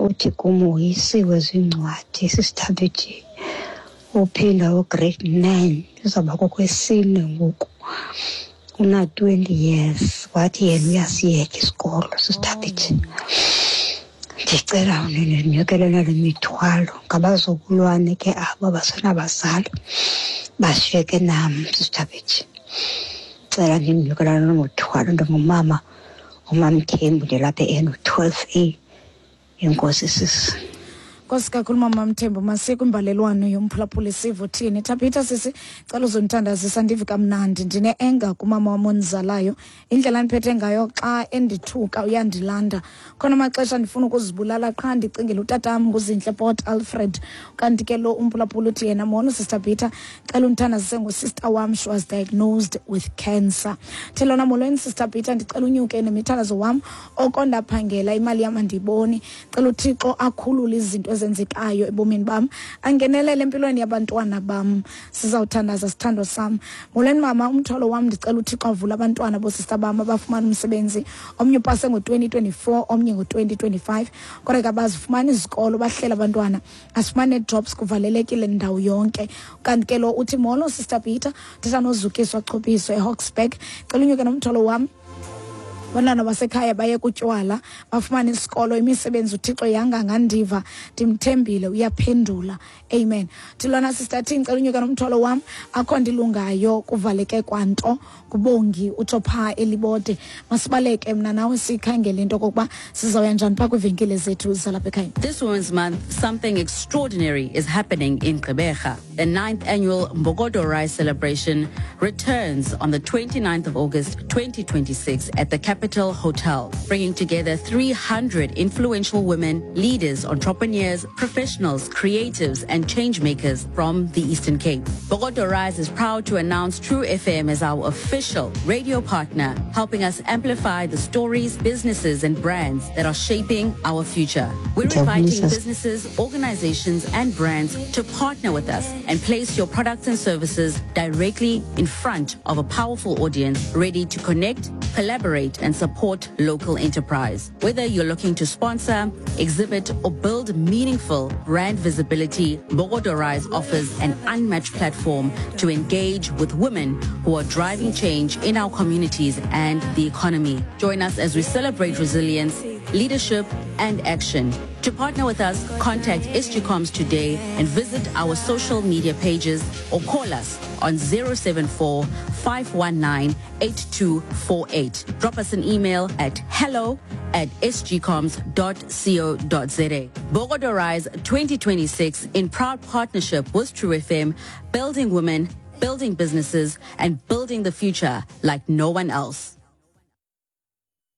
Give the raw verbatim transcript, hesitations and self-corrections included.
Uthi kum woyisiwe ziincwadi, Sister Thabethe. Uphinda u-grade nine, izawuba kokwesine ngoku. Una-twenty years, wathi yena uyasiyeka isikolo, Sister Thabethe. Ndicela undinyukele nale mithwalo. Ngabazukulwane ke abo abasenabazali, bashiyeke nam, Sister Thabethe. Cela ndinyukela nalo mthwalo. Ndingumama uMamthembu, ndilapha e-N twelve A. Enkosi sisi. Nkosi kakhulu mama Mthembu, masiye kwimbalelwano yomphulaphuli sive uthini. Thabitha sisi, cela uzondithandazisa ndive kamnandi. Ndine-enga kumama wam ondizalayo, indlela andiphethe ngayo xa endithuka uyandilanda. Khona amaxesha ndifuna ukuzibulala qha ndicingela utatam nguZintle Port Alfred. Kanti ke lo umphulaphuli uthi yena, molo Sister Peter, cela undithandazise ngosister wam, she was diagnosed with cancer. Thelona, molweni Sister Peter, ndicela unyuke nemithandazo wam, oko ndaphangela imali yam andiyiboni. Cela uThixo akhulule izinto ezenzekayo ebomini bam, angenelele empilweni yabantwana bam. Sizawuthandaza sithando sam. Molweni mama, umthwalo wam ndicela uThixo avule abantwana boosista bam abafumana umsebenzi. Omnye upase ngo-twenty twenty-four, omnye ngo-twenty twenty-five, kodwa ke abazifumani izikolo, bahlela abantwana, asifumane jobs, kuvalelekile ndawo yonke. Kanti ke lo uthi, molo Sister Peter, thetha noZukiswa Chopiso eHawksburg, cela unyuke nomthwalo wam. Abantwana basekhaya baye kutywala, bafumane isikolo, imisebenzi, uThixo yangangandiva, ndimthembile uyaphendula, amen. Thilona Sister T, ndicela unyuke nomthwalo wam, akho ndilungayo, kuvaleke kwanto. Kubongi utsho phaa eLibode. Masibaleke mna nawe sikhangele into okokuba sizawuya njani phaa kwiivenkile zethu zalapha ekhaya. This Women's Month, something extraordinary is happening in Gqeberha. The ninth annual Mbokodo Rise celebration returns on the twenty-ninth of August twenty twenty-six at the Capital Hotel, bringing together three hundred influential women, leaders, entrepreneurs, professionals, creatives, and change makers from the Eastern Cape. Mbokodo Rise is proud to announce True F M as our official radio partner, helping us amplify the stories, businesses, and brands that are shaping our future. We're inviting businesses, organizations, and brands to partner with us and place your products and services directly in front of a powerful audience ready to connect, collaborate, and support local enterprise. Whether you're looking to sponsor, exhibit, or build meaningful brand visibility, Mbokodo Rise offers an unmatched platform to engage with women who are driving change in our communities and the economy. Join us as we celebrate resilience, leadership, and action. To partner with us, contact S G Comms today and visit our social media pages or call us on zero seven four, five one nine, eight two four eight. Drop us an email at hello at s g comms dot co dot z a. Mbokodo Rise twenty twenty-six, in proud partnership with True F M, building women, building businesses, and building the future like no one else.